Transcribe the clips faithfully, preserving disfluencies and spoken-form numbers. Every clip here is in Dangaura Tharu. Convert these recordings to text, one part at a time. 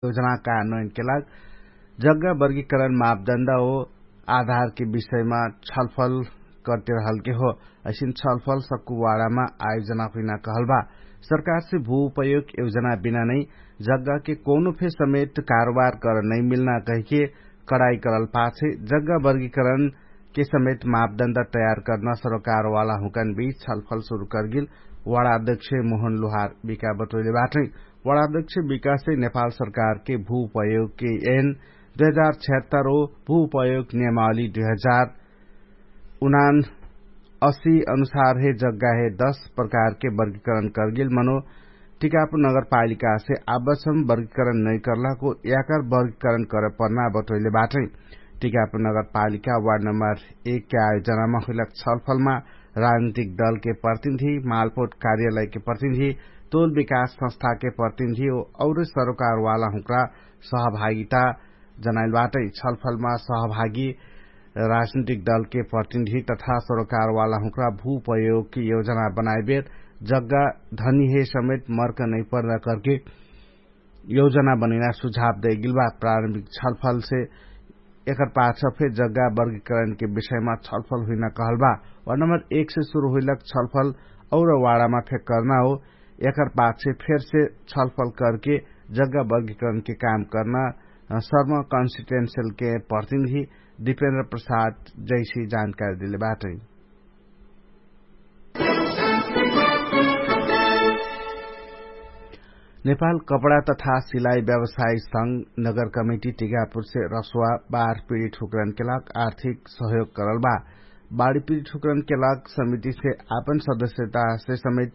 योजना का नोइनके लाग जग्गा वर्गीकरण मापदण्ड हो आधारके विषयमा छलफल करते रहलके हो। असिन छलफल सक्कु वाडामा आयोजना हुइना कहलबा। सरकारसे भू उपयोग योजना बिना नै जग्गाके कौनो फे समेत कारोबार कर नै मिल्ना कहिके कडाई करल पाछे जग्गा वर्गीकरण के समेत मापदण्ड तयार कर्न सरोकारवाला हुँकन बीच छलफल सुरु करगिल वडाध्यक्ष मोहन लोहार बिका बटोइले बाटै। वडाध्यक्ष बिकासे नेपाल सरकारके भू उपयोगके एन दुई हजार छहत्तर ओ भू उपयोग नियमावली दुई हजार उनान असी अनुसार हे जग्गा हे दस प्रकारके वर्गीकरण करगिल मनो टिकापुर नगरपालिकासे आबसम वर्गीकरण नैकर्लाको याकर वर्गीकरण करपर्ना बटोइले बाटै। टिकापुर नगरपालिका वार्ड नम्बर एक के आयोजनामा हुइलक छलफलमा राजनीतिक दलके प्रतिनिधि, मालपोट कार्यालयके प्रतिनिधि, तोल विकास संस्थाके प्रतिनिधि औ औरे सरोकारवाला हुँक्रा सहभागिता जनाइल बाटै। छलफलमा सहभागी राजनीतिक दलके प्रतिनिधि तथा सरोकारवाला हुँक्रा भू उपयोगके योजना बनाइबेर जग्गा धनीहे समेत मर्क नैपर्ना करके योजना बनैना सुझाव दैगिल बा। प्रारम्भिक छलफलसे एकर पाछ फे जग्गा वर्गीकरणके विषयमा छलफल हुइना कहल बा। वार्ड नम्बर एक से सुरु हुइलक छलफल और वाडामा फे कर्ना हो। एकर पाछ फेरसे छलफल करके जग्गा वर्गीकरणके काम कर्ना सर्म कन्स्टिटेन्सियलके प्रतिनिधि दिपेन्द्र प्रसाद जैसी जानकारी देले बाटै। नेपाल कपडा तथा सिलाइ व्यवसाय संघ नगर कमिटी टिकापुरसे रसुवा बार पिडित हुक्रनके लाग आर्थिक सहयोग करल बा। बाढी पिडित हुक्रनके लाग समितिसे आपन सदस्यतासे समेत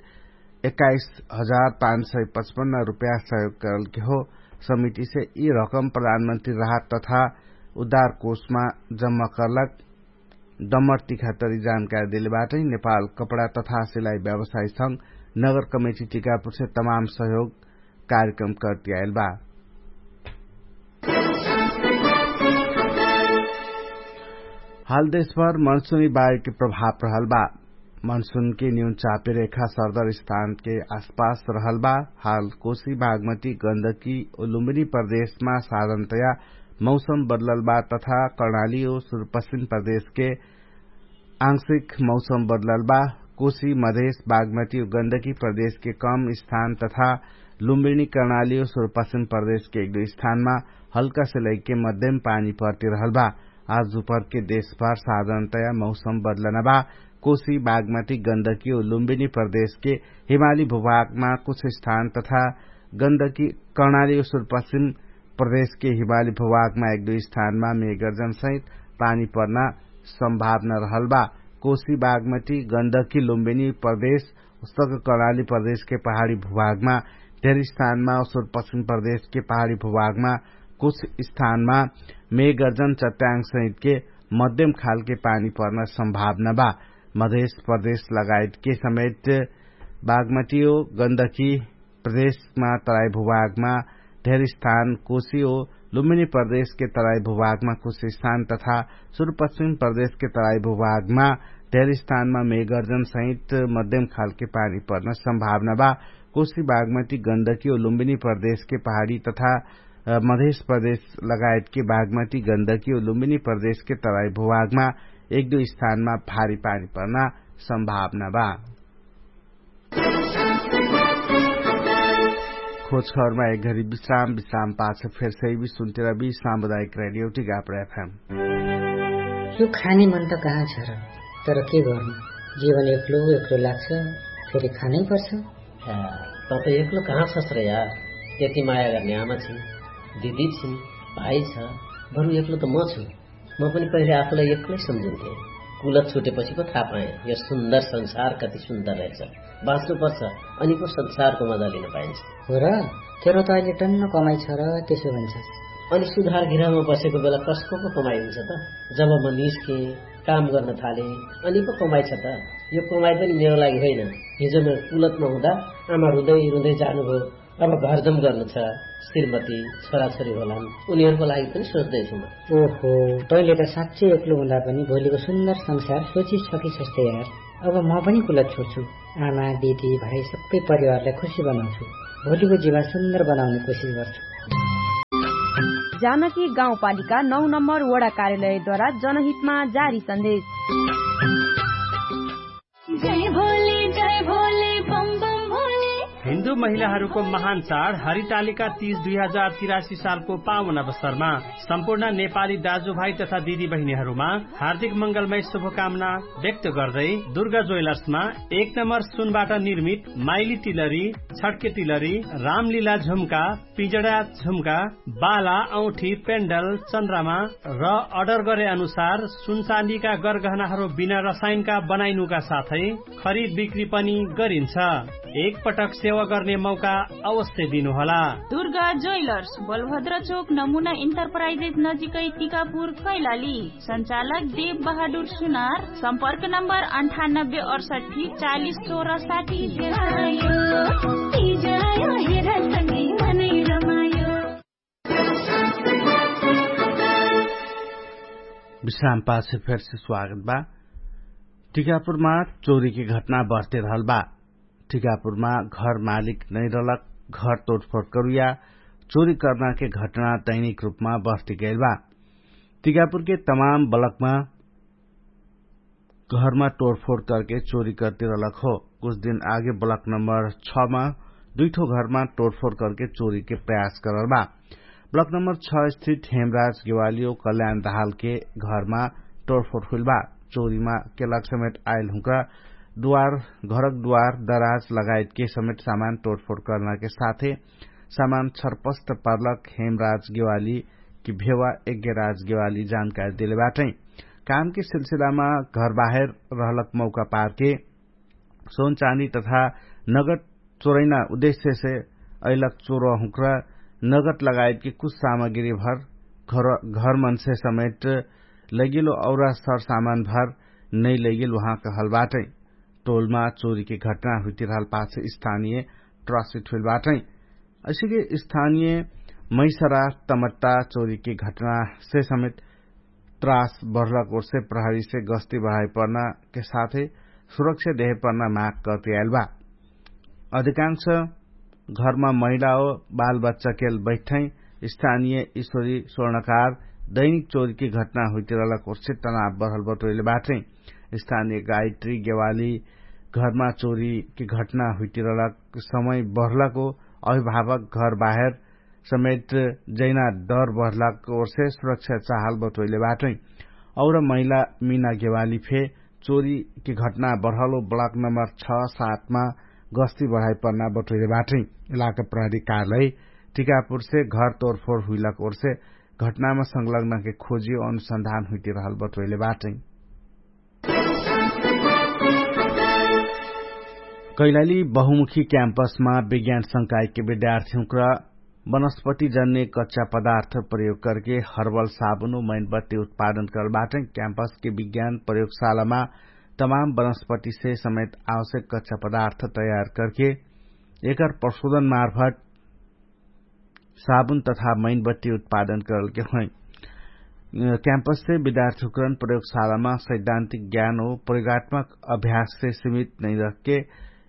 एक्काइस हजार पाँच सय पचपन्न रुपया सहयोग करलके हो। समितिसे यि रकम प्रधानमन्त्री राहत तथा उद्धार कोषमा जम्मा करलक डम्मर तिखातरी जानकारी देले बाटै। नेपाल कपडा तथा सिलाइ व्यवसाय संघ नगर कमेटी टिकापुरसे तमाम सहयोग कार्यक्रम करती आइल बा। हाल देशभर मनसुनी बायुके प्रभाव रहल बा। मनसुनके न्यून चापे रेखा सरदर स्थानके आसपास रहल बा। हाल कोशी बागमती गन्दकी उलुम्बिनी प्रदेशमा साधनतया मौसम बदलल बा तथा कर्णाली ओ सुरुपश्चिम प्रदेशके आंशिक मौसम बदलल बा। कोशी मधेश बागमती ओ गन्दकी प्रदेशके कम स्थान तथा लुम्बिनी कर्णाली ओ सुरुपश्चिम प्रदेशके एक दुई स्थानमा हल्कासे लैके मध्यम पानी पर्ति रहल बा। आज दुपहरके देशभर साधारणतया मौसम बदलना बा। कोशी बागमती गन्दकी ओ लुम्बिनी प्रदेशके हिमाली भूभागमा कुछ स्थान तथा गन्दकी कर्णाली ओ सुरुपश्चिम प्रदेशके हिमाली भूभागमा एक दुई स्थानमा मेघर्जन सहित पानी पर्ना सम्भावना रहल बा। कोशी बागमती गन्दकी लुम्बिनी प्रदेश उस्तक कर्णाली प्रदेशके पहाडी भूभागमा धेर स्थानमा ओ सुरुपश्चिम प्रदेशके पहाडी भूभागमा कुछ स्थानमा मेघर्जन चट्याङ सहितके मध्यम खालके पानी पर्ना सम्भावना बा। मधेश प्रदेश लगायतके समेत बागमती ओ गन्दकी प्रदेशमा तराई भूभागमा धेर स्थान कोशी ओ लुम्बिनी प्रदेशके तराई भूभागमा कुछ स्थान तथा सुरुपश्चिम प्रदेशके तराई भूभागमा धेर स्थानमा मेघर्जन सहित मध्यम खालके पानी पर्न सम्भावना बा। कोशी बागमती गन्दकी ओ लुम्बिनी प्रदेशके पहाडी तथा मधेश प्रदेश लगायतके बागमती गन्दकी ओ लुम्बिनी प्रदेशके तराई भूभागमा एक दुई स्थानमा भारी पानी पर्ना सम्भावना बा। खोज खबरमा एक घरी विश्राम विश्राम पाछ फेर सही भी सुन्तिर भी सामुदायिक रेडियो टिकापुर एफएम। यो खाने मन त कहाँ छ र? तर के गर्नु? जीवन एक्लो एक्लो लाग्छ। फेरि खानै पर्छ। त त एक्लो कहाँ छस र यार? यति माया गर्ने आमा छिन्, दिदी छिन्, भाइ छ। बरु एक्लो त म छु। म पनि पहिले आफूलाई एक्लै सम्झिन्थे। कुलत छुटेपछि पो थाहा पाएँ यो सुन्दर संसार कति सुन्दर रहेछ। बाँच्नुपर्छ, अनि पो संसारको मजा लिन पाइन्छ। हो र? तेरो त अहिले टन्न कमाइ छ र त्यसो भन्छस्। अनि सुधार गृहमा बसेको बेला कसको पो कमाइ हुन्छ त? जब म निस्केँ, काम गर्न थालेँ, अनि पो कमाइ छ त? यो कमाइ पनि मेरो लागि होइन। हिजो म कुलतमा हुँदा आमा रुँदै रुँदै जानुभयो। अब घरजम गर्नु छ। श्रीमती, छोराछोरी होलान्, उनीहरूको लागि पनि सोच्दैछु म। ओहो, तैँले त साँच्चै एक्लो हुँदा पनि भोलिको सुन्दर संसार सोचिसकिसक्छौ यार। अब म पनि कुलत छोड्छु। आमा, दिदी, भाइ सबै परिवारलाई खुसी बनाउँछु। भोलिको जीवन सुन्दर बनाउने कोसिस गर्छु। जानकी गाउँपालिका नौ नम्बर वडा कार्यालयद्वारा जनहितमा जारी सन्देश। जय भोले जय भोले बम बम भोले। हिन्दू महिलाहरूको महान चाड हरितालिका तीज दुई हजार तिरासी सालको पावन अवसरमा सम्पूर्ण नेपाली दाजुभाइ तथा दिदी बहिनीहरूमा हार्दिक मंगलमय शुभकामना व्यक्त गर्दै दुर्गा ज्वेलर्समा एक नम्बर सुनबाट निर्मित माइली तिलरी, छड्के तिलरी, रामलीला झुम्का, पिजडा झुम्का, बाला, औठी, पेन्डल, चन्द्रमा र अर्डर गरे अनुसार सुनचाँदीका गरगहनाहरू बिना रसायनका बनाइनुका साथै खरिद बिक्री पनि गरिन्छ। एक पटक सेवा गर्ने मौका अवश्य दिनुहोला। दुर्गा ज्वेलर्स, बलभद्र चोक, नमुना इन्टरप्राइजेस नजिकै, टिकापुर, कैलाली। सञ्चालक देव बहादुर सुनार। सम्पर्क नम्बर अन्ठानब्बे अडसट्ठी चालिस चौरासाठी। विश्राम पाछे फेरसे स्वागत बा। टिकापुरमा चोरीके घटना बढते रहल बा। टिकापुरमा घर मालिक नैरलक, घर तोडफोड करुया चोरी कर्नाके घटना दैनिक रूपमा बढते गैल बा। टिकापुरके तमाम बलकमा घरमा तोडफोड करके चोरी करते रहलक हो। कुछ दिन आगे ब्लक नम्बर छ मा दुइठो घरमा तोडफोड करके चोरीके प्रयास करल बा। ब्लक नम्बर छ स्थित हेमराज गेवालियो कल्याण दहालके घरमा तोडफोड हुइल बा। चोरीमा केलक समेत आइल हुँका दुवार, घरक दुवार, दराज लगायतके समेत सामान तोडफोड कर्नाके साथे सामान छरपस्त पर्लक हेमराज गेवाली कि भेवा यज्ञराज गेवाली जानकारी देले बाटै। कामके सिलसिलामा घरबाहेर रहलक मौका पारके सोन चाँदी तथा नगद चोरैना उद्देश्यसे अइलक चोरहुँक्रा नगद लगायतके कुछ सामग्रीभर घरमनसे समेट लैगेलो औरा सरसामानभर नैलैगेल उहाँ कहल बाटै। टोलमा चोरीके घटना हुइतिरहल पाछ स्थानीय ट्रसिट हुइल बाटै। असिके स्थानीय मैसरा तमत्ता चोरीके घटनासे समेत त्रास बढलक ओर्से प्रहरीसे गस्ती बढाइ पर्नाके साथै सुरक्षा देहे पर्ना माग कर्ति आइल बा। अधिकांश घरमा महिला हो बालबच्चाकेल बैठै स्थानीय ईश्वरी स्वर्णकार दैनिक चोरीके घटना हुइतिरहलक ओर्से तनाव बढल बटोइले बाटै। स्थानीय गायत्री गेवाली घरमा चोरीके घटना हुइतिरहलक समय बढलक हो अभिभावक घरबाहेर समेट जैना डर बढलक ओर्से सुरक्षा चाहल बटोइले बाटै। और महिला मिना गेवाली फे चोरीके घटना बढलो ब्लक नम्बर छ सातमा गस्ती बढाइ पर्ना बटोइले बाटै। इलाका प्रहरी कार्यालय टिकापुरसे घर तोरफोर हुइलक ओर्से घटनामा संलग्नके खोजी अनुसन्धान हुइतिरहल बटोइले बाटै। कैलाली बहुमुखी क्याम्पसमा विज्ञान संकायके विद्यार्थीहुँक्र वनस्पति जन्ने कच्चा पदार्थ प्रयोग करके हर्बल साबुन उ मैनबत्ती उत्पादन करल बाटै। क्याम्पसके विज्ञान प्रयोगशालामा तमाम वनस्पतिसे समेत आवश्यक कच्चा पदार्थ तयार करके एकर प्रशोधन मार्फत साबुन तथा मैनबत्ती उत्पादन करलके होइ। क्याम्पससे विद्यार्थीकरण प्रयोगशालामा सैद्धान्तिक ज्ञान हो प्रयोगात्मक अभ्याससे सीमित नैरहके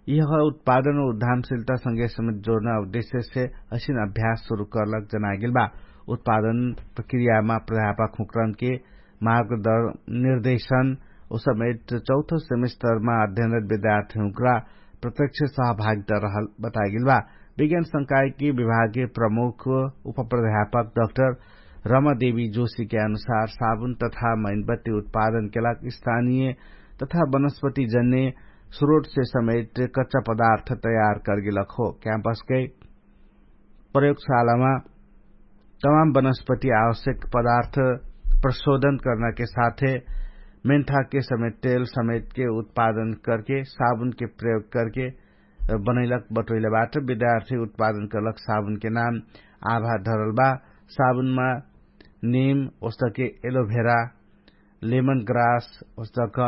यह उत्पादन हो उद्धामशिलता संगे समेत जोर्ना उद्देश्यसे असिन अभ्यास सुरु करलक जनागेल बा। उत्पादन प्रक्रियामा प्राध्यापक हुँकरनके मार्गदर निर्देशन उसमेट चौथो सेमेस्टरमा अध्ययनरत विद्यार्थीहुँक्रा प्रत्यक्ष सहभागिता रहल बतागेल बा। विज्ञान संकायकी विभागीय प्रमुख उपप्राध्यापक डाक्टर रमादेवी जोशीके अनुसार साबुन तथा मैनबत्ती उत्पादनके लाग स्थानीय तथा वनस्पति जन्ने स्रोटसे समेट कच्चा पदार्थ तयार करगेलक हो। क्याम्पसके प्रयोगशालामा तमाम वनस्पति आवश्यक पदार्थ प्रशोधन कर्नाके साथे मेन्थाके समेत तेल समेतके उत्पादन करके साबुनके प्रयोग करके बनैलक बटोइले बाट विद्यार्थी उत्पादन करलक साबुनके नाम आभा धरल बा। साबुनमा निम ओस्तके एलोभेरा लेमन ग्रास ओस्तक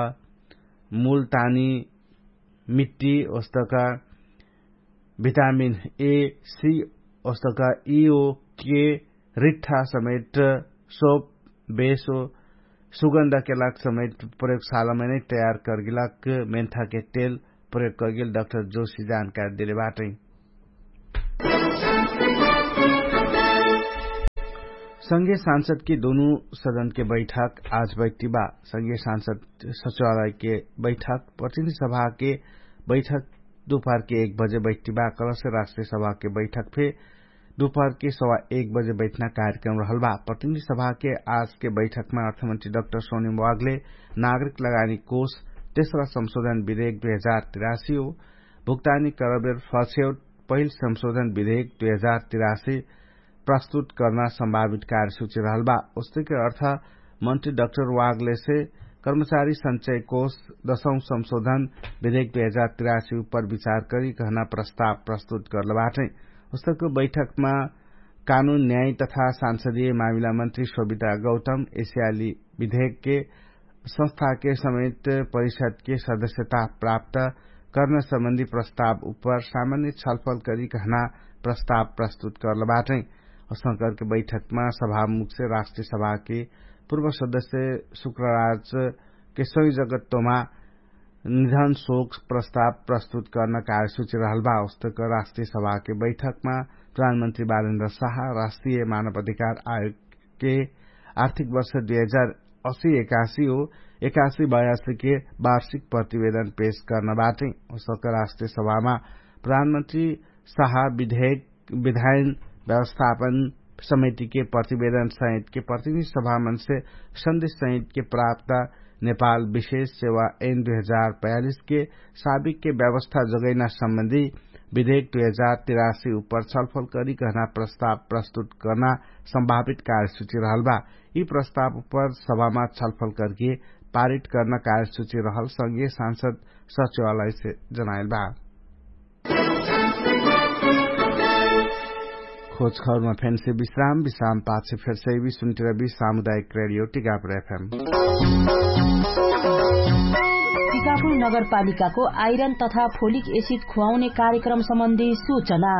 मुलतानी मिट्टी ओस्तक भिटामिन ए सी ओस्तक इओ के रिट्ठा समेट सोप बेसो सुगन्धके लाग समेट प्रयोगशालामा नै तयार करगेलाग मेन्थाके तेल प्रयोग करगेल डाक्टर जोशी जानकारी देले बाटै। संघीय सांसदके दुनु सदनके बैठक आज बैठ्टिबा। संघीय सांसद सचिवालयके बैठक प्रतिनिधि सभाके बैठक दुपहरके एक बजे बैठ्टिबा। कलसे राष्ट्रिय सभाके बैठक फे दुपहरके सवा एक बजे बैठ्ना कार्यक्रम रहलबा। प्रतिनिधि सभाके आजके बैठकमा अर्थमन्त्री डक्टर सोनिम वागले नागरिक लगानी कोष तेस्रा संशोधन विधेक दुई हजार तिरासी हो भुक्तानी करबेर फर्सेव पहिल संशोधन विधेक दुई हजार तिरासी प्रस्तुत कर्ना सम्भावित कार्यसूची रहलबा। उस्तके अर्थ मन्त्री डक्टर वागलेसे कर्मचारी संचय कोष दशौं संशोधन विधेक दुई हजार तिरासी उपर विचार करी कहना प्रस्ताव प्रस्तुत गर्लबाटै। उस्तके बैठकमा कानुन न्याय तथा सांसदीय मामिला मन्त्री सोभिता गौतम एसियाली विधेकके संस्थाके समेत परिषदके सदस्यता प्राप्त कर्न सम्बन्धी प्रस्ताव उपर सामान्य छलफल करी कहना प्रस्ताव प्रस्तुत गर्लबाटै। असंकरके बैठकमा सभामुखसे राष्ट्रिय सभाके पूर्व सदस्य शुक्रराजके संयोजकत्वमा निधन शोक प्रस्ताव प्रस्तुत कर्न कार्यसूची रहलबा। उस्तक राष्ट्रिय सभाके बैठकमा प्रधानमन्त्री बालेन्द्र साहा राष्ट्रिय मानव अधिकार आयोगके आर्थिक वर्ष दुई हजार असी एकासी हो एकासी बयासीके वार्षिक प्रतिवेदन पेश कर्न बाटै। उस्तक राष्ट्रिय सभामा प्रधानमन्त्री साहा विधेयक विधायन व्यवस्थापन समितिके प्रतिवेदन सहितके प्रतिनिधि सभामनसे सन्देश सहितके प्राप्त नेपाल विशेष सेवा एन दुई हजार बयालिसके साबिकके व्यवस्था जगैना सम्बन्धी विधेयक दुई हजार तिरासी उपर छलफल करी कहना प्रस्ताव प्रस्तुत कर्ना सम्भावित कार्यसूची रहलबा। यि प्रस्ताव उपर सभामा छलफल करके पारित कर्ना कार्यसूची रहल संघीय सांसद सचिवालयसे जनाइलबा। खोजखबरमा फेन्से विश्राम विश्राम पाछे फेर्सैबी सुन्टिरबी सामुदायिक रेडियो टिकापुर एफएम। टिकापुर नगरपालिकाको आइरन तथा फोलिक एसिड खुवाउने कार्यक्रम सम्बन्धी सूचना।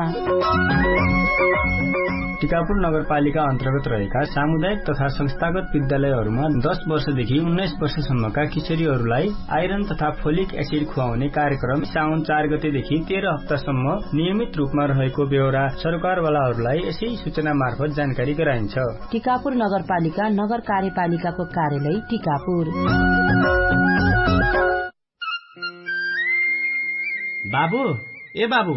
टिकापुर नगरपालिका अन्तर्गत रहेका सामुदायिक तथा संस्थागत विद्यालयहरूमा दश वर्षदेखि उन्नाइस वर्षसम्मका किशोरीहरूलाई आइरन तथा फोलिक एसिड खुवाउने कार्यक्रम साउन चार गतेदेखि तेह्र हप्तासम्म नियमित रूपमा रहेको बेहोरा सरकारवालाहरूलाई यसै सूचनामार्फत जानकारी गराइन्छ। टिकापुर नगरपालिका नगर कार्यपालिकाको कार्यालय टिकापुर। बाबु, ए बाबु,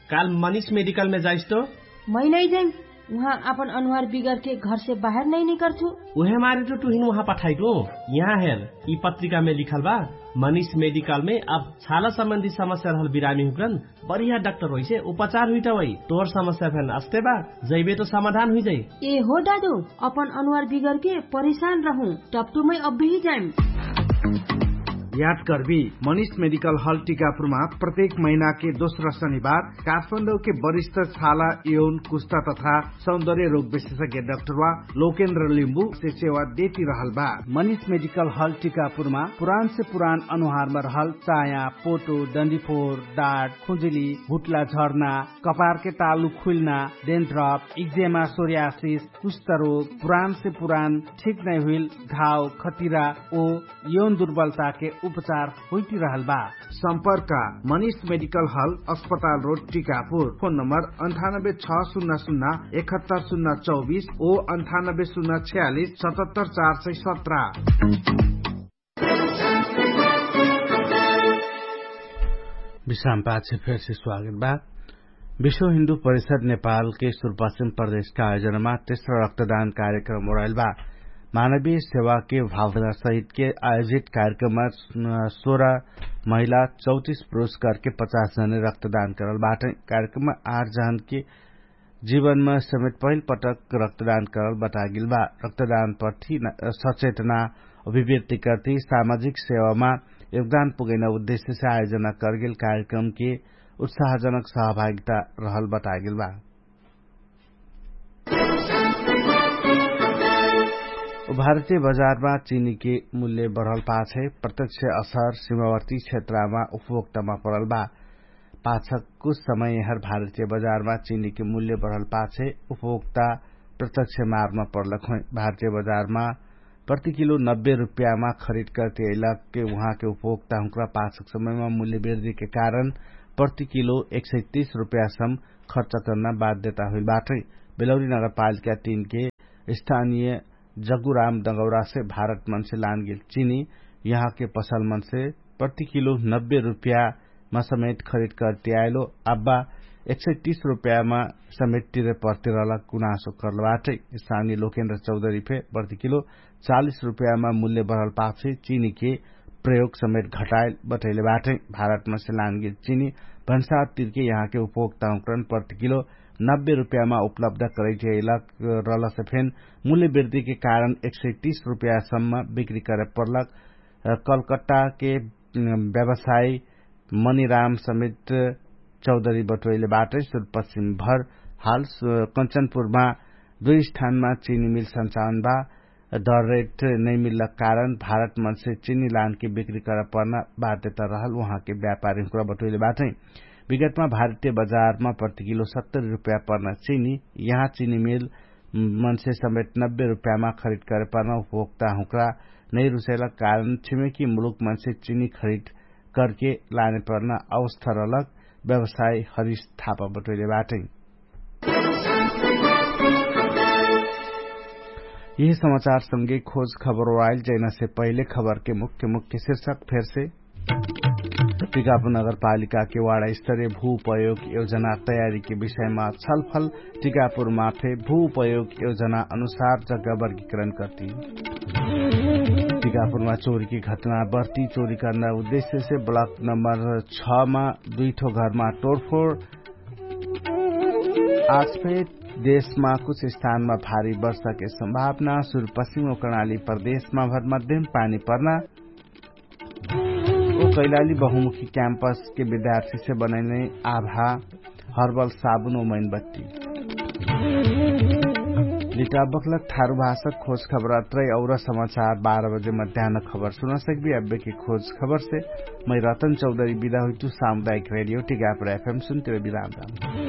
काल मनिष मेडिकलमे जाइस तो? मै नै जाइम। उहाँ आपन अनुहार बिगरके घरसे बाहेर नै निकर्छु। उहे मारे तो टुहिन उहाँ पठाइटु। यहाँ हेर, यि पत्रिकामे लिखल बा, मनिष मेडिकलमे अब छाला सम्बन्धी समस्या रहल बिरामी हुक्रन बढिया डाक्टर होइसे उपचार हुइटा वै। तोर समस्या फेन अस्ते बा, जैबे तो समाधान हुइजै। ए हो दादु, अपन अनुहार बिगरके परेशान रहु, टपटुमै अब्बेही जाइम। याद कर्बी, मनिष मेडिकल हल टिकापुरमा प्रत्येक महिनाके दोस्रा शनिबार काठमाडौके वरिष्ठ छाला यौन कुष्टा तथा सौन्दर्य रोग विशेषज्ञ डाक्टरवा लोकेन्द्र लिम्बु से सेवा देती रहल बा। मनिष मेडिकल हल टिकापुरमा पुरान से पुरान अनुहारमा रहल चाया, पोटो, डन्डीफोर, डाट, खुजुली, हुट्ला झर्ना, कपारके तालु खुइल्ना, डेन्ड्रप, इक्जेमा, सोर्यासिस, कुष्ठरोग, पुरान से पुरान ठिक नै हुइल घाव, खतिरा ओ यौन दुर्बलताके उपचार होइटिरहल बा। सम्पर्क, मनिष मेडिकल हल, अस्पताल रोड, टिकापुर। फोन नम्बर अन्ठानब्बे छ सुन्ना सुन्ना एकहत्तर सुन्ना चौबिस ओ अन्ठानब्बे सुन्ना छ्यालिस सतहत्तर चार सय सत्र। विश्राम पाछे फेरसे स्वागत बा। विश्व हिन्दु परिषद नेपालके सुरपासिम प्रदेशका आयोजनामा तेस्रा रक्तदान कार्यक्रम ओराइल बा। मानवीय सेवाके भावना सहितके आयोजित कार्यक्रममा सोह्र महिला चौतिस पुरुष करके पचास जने रक्तदान करल बाटै। कार्यक्रममा आठ जहनके जीवनमा समेत पहिल पटक रक्तदान करल बतागेल बा। रक्तदान प्रति सचेतना अभिव्यक्ति करती सामाजिक सेवामा योगदान पुगैना उद्देश्यसे आयोजना करगेल कार्यक्रमके उत्साहजनक सहभागिता रहल बतागेल बा। भारतीय बजारमा चिनीके मूल्य बढल पाछे प्रत्यक्ष असर सिमावर्ती क्षेत्रमा उपभोक्तामा पडल बा। पाछक कुछ समय यहर भारतीय बजारमा चिनीके मूल्य बढल पाछे उपभोक्ता प्रत्यक्ष मारमा पडलक होइ। भारतीय बजारमा प्रति किलो नब्बे रुप्यामा खरिद करती अइलकके उहाँके उपभोक्ता हुँक्रा पाछक समयमा मूल्य बेर्दीके कारण प्रति किलो एक सय तीस रुप्यासम खर्च कर्ना बाध्यता हुइल बाटै। बेलौरी नगरपालिका तीनके स्थानीय जगुराम दगौरासे भारत मनसे लानगेल चिनी यहाँके पसल मनसे प्रति किलो नब्बे रुपयामा समेट खरिद करतियाएलो। अब्बा एक सय तीस रुपयामा समेट तिरे पर्तिरहलक गुनासो करलबाटै। स्थानीय लोकेन्द्र चौधरी फे प्रति किलो चालिस रुपयामा मूल्य बढल पाछे चिनीके प्रयोग समेट घटाएल बटैले बाटै। भारत मनसे लानगेल चिनी भन्सार तिरके यहाँके उपभोक्ताहुँकरन प्रति किलो नब्बे रुपयामा उपलब्ध करैठेलक रहलसे फेन मूल्य वृद्धिके कारण एक सय तीस रुपयासम्म बिक्री करे पर्लक कलकत्ताके व्यवसायी मनिराम समेत चौधरी बटोइले बाटै। सुरपश्चिम भर हाल कञ्चनपुरमा दुई स्थानमा चिनी मिल सञ्चालन बा। दर रेट नैमिल्लक कारण भारत मनसे चिनी लानके बिक्री कर पर्ना बाध्यता रहल उहाँके व्यापारी हुँक्रा बटोइले बाटै। विगतमा भारतीय बजारमा प्रतिकिलो सत्तरी रुपया पर्ना चिनी यहाँ चिनी मिल मनसे समेट नब्बे रुपयामा खरिद करे पर्ना उपभोक्ता हुँक्रा नैरुसैलक कारण छिमेकी मुलुक मनसे चिनी खरिद करके लाने पर्ना अवस्था रहलक व्यवसाय हरिस थापा बटोइले बाटै। यही समाचार संगे खोज खबर वाइल जैना से पहिले खबर के मुख्य मुख्य शीर्षक फेर से। टिकापुर नगरपालिका के वाडा स्तरीय भू उपयोग योजना तयारी के विषयमा छलफल। टिकापुर माफे भू उपयोग योजना अनुसार जग्गा वर्गीकरण करती। टिकापुरमा चोरी के घटना बढ्ती चोरी करना उद्देश्य से ब्लक नम्बर छ मा दुई ठो घरमा तोडफोड। आज फे देशमा कुछ स्थानमा भारी वर्षा के सम्भावना। सुरु पश्चिम कर्णाली प्रदेशमा भर मध्यम पानी पर्ना। ओ कैलाली बहुमुखी क्याम्पस के विद्यार्थी से बनैने आभा हर्बल साबुन ओ मैनबत्ती। लिटाबकलक थारु भाषक खोज खबर अत्रै और समाचार बाह्र बजे मध्यान खबर सुना सकबी। अब्बे के खोज खबर से मै रतन चौधरी विदा हुइतु। सामुदायिक रेडियो टिकापुर एफएम सुनते रह विराम राम।